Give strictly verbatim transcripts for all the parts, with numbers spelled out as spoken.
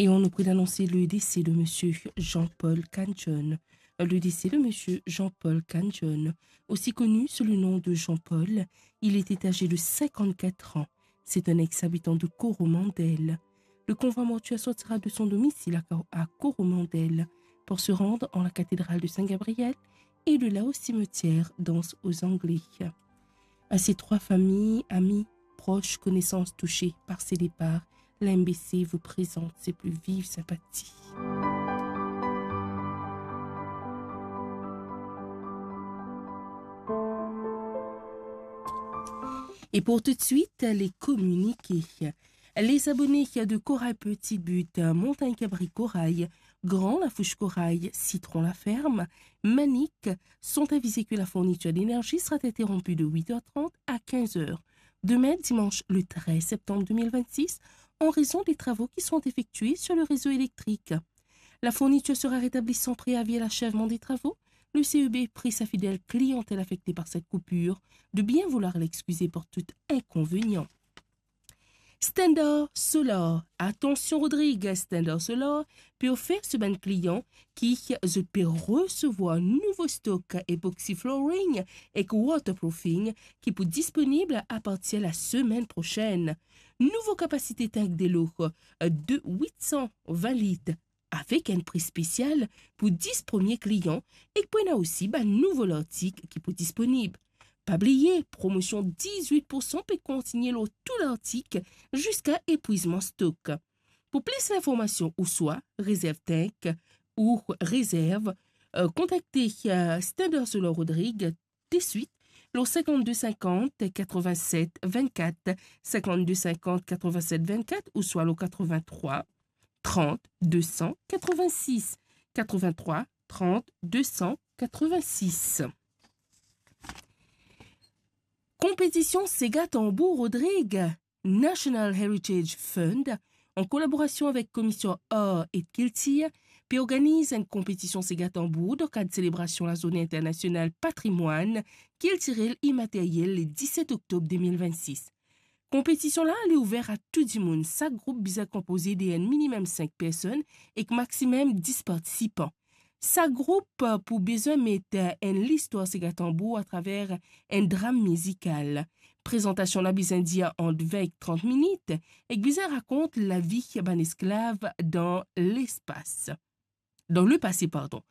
Et on oublie d'annoncer le décès de monsieur Jean-Paul Canjon. Le décès de monsieur Jean-Paul Canjon, aussi connu sous le nom de Jean-Paul, il était âgé de cinquante-quatre ans. C'est un ex-habitant de Coromandel. Le convoi mortuaire sortira de son domicile à, à Coromandel pour se rendre en la cathédrale de Saint-Gabriel et de là au cimetière d'Anse aux Anglais. À ces trois familles, amis, proches, connaissances touchées par ces départs, l'M B C vous présente ses plus vives sympathies. Et pour tout de suite, les communiqués. Les abonnés de Corail Petit But, Montagne Cabri Corail, Grand Lafouche Corail, Citron la Ferme, Manic sont avisés que la fourniture d'énergie sera interrompue de huit heures trente à quinze heures demain, dimanche le treize septembre deux mille vingt-six, en raison des travaux qui sont effectués sur le réseau électrique. La fourniture sera rétablie sans préavis à l'achèvement des travaux. Le C E B prie sa fidèle clientèle affectée par cette coupure de bien vouloir l'excuser pour tout inconvénient. Standard Solar. Atansion Rodrig, Standard Solar pe ofer so bann klian ki zot pe resevwar nouvo stok epoxy flooring ek waterproofing ki pou disponib apartir la semenn prosenn. Nouvo kapasite tank delo de wit san vin lit avek enn pri spesial pou dis premie klian ek pou ena osi bann nouvo lartik ki pou disponib. Pa bliye, promosion dizwit pou san pe kontigne lor tou lartik ziska epwizman stok. Pou plis linformasion ouswa rezerv tank ou rezerv, eh, kontakte, eh, Standard Solar Rodrig deswit lor cinquante-deux cinquante quatre-vingt-sept vingt-quatre, cinquante-deux cinquante quatre-vingt-sept vingt-quatre ouswa lor quatre-vingt-trois trente deux cent quatre-vingt-six, quatre-vingt-trois trente deux cent quatre-vingt-six. Konpetision Sega Tanbour Rodrig, National Heritage Fund, an kolaborasion avek Komisyon Ar ek Kiltir, pe organiz enn konpetision Sega Tanbour dan kad selebrasion Lazourne Internasional Patrimwann Kiltirel Imateryel le diset oktob de mil vennsis. Konpetision la, li ouver a tou dimoun. Sak group bizin konpoze de enn minimem sink personn ek maximum dis partisipan. Sak group, eh, pou bizin met, eh, enn listwar Sega Tanbour atraver enn dram mizikal. Prezantasion la bizin dir ant vin ek trant minit ek bizin rakont lavi bann esklav dan lespas. Dan lepase, pardon.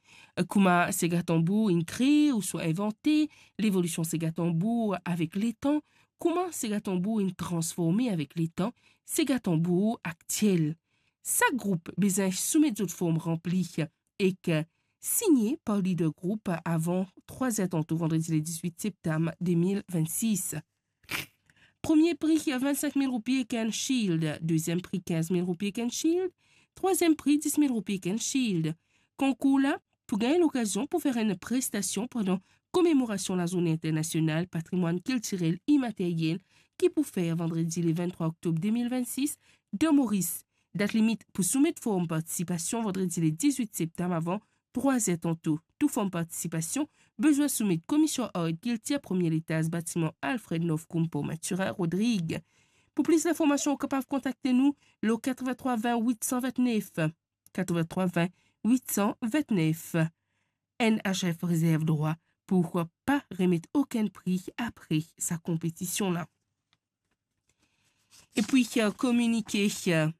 Kouma Sega Tanbour inn kree ouswa invante, levolision Sega Tanbour avek letan, kouma Sega Tanbour inn transforme avek letan, Sega Tanbour aktiel. Sak group bizin soumet zot form ranpli ek signe par lider group avan trwa zer tanto vandredi le diz-wit septam de mil vennsis. Premie pri, vinn-sink mil roupi ek enn shield. Deziem pri, kinz mil roupi ek enn shield. Trwaziem pri, dis mil roupi ek enn shield. Konkour la pou gagn lokazion pou fer enn prestasion pandan komemorasion Lazourne Internasional Patrimwann Kiltirel Imateryel ki pou fer vandredi le vinn-trwa oktob de mil vennsis dan Moris. Dat limit pou soumet form partisipasion vandredi le diz-wit septam avan trwa zer tanto. Tou form partisipasion bizin soumet Komisyon Ar ek Kiltir, premie letaz, batiman Alfred North, Koumpo, Mathurin, Rodrig. Pou plis linformasion, ou kapav kontakte nou lor katrevin-trwa vin wit san vintnef, katrevin-trwa vin wit san vintnef. N H F rezerv drwa pou pa remet okenn pri apre sa konpetision la. Epi, eh, kominike, eh,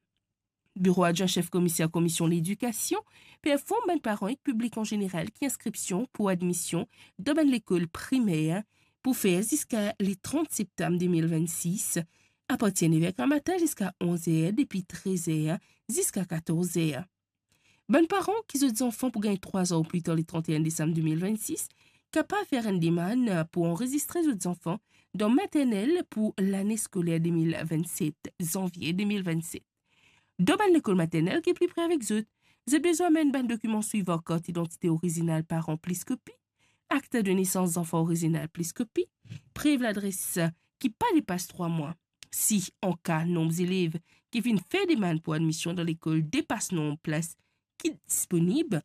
Biro Adwin Sef Komiser Komisyon Ledikasion pe inform bann paran ek piblik an zeneral ki inskripsion pou admision dan bann lekol primer pou fer ziska le trant septam de mil vennsis, apartir nev er gramatin ziska onz er, depi trez er ziska katorz er. Bann paran ki zot zanfan pou gagn trwa zan ou pli tar le trant e enn desam de mil vennsis kapav fer enn demann pou anrezistre zot zanfan dan maternel pou lane skoler de mil vennset, zanvie de mil vennset. Dan bann lekol maternel ki pli pre avek zot, zot bizin amenn bann dokiman swivan: kart idantite orizinal paran plis kopi, akt de nesans zanfan orizinal plis kopi, prev ladres ki pa depas trwa mwa. Si an ka nonb zelev ki finn fer demann pou admision dan lekol depas nonb plas ki disponib,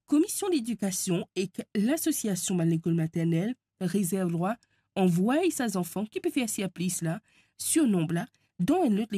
Komisyon Ledikasion ek Lasosiasion bann lekol maternel rezerv drwa anvway sa zanfan ki pe fer sirplis la, sirnonb la, Don enn lot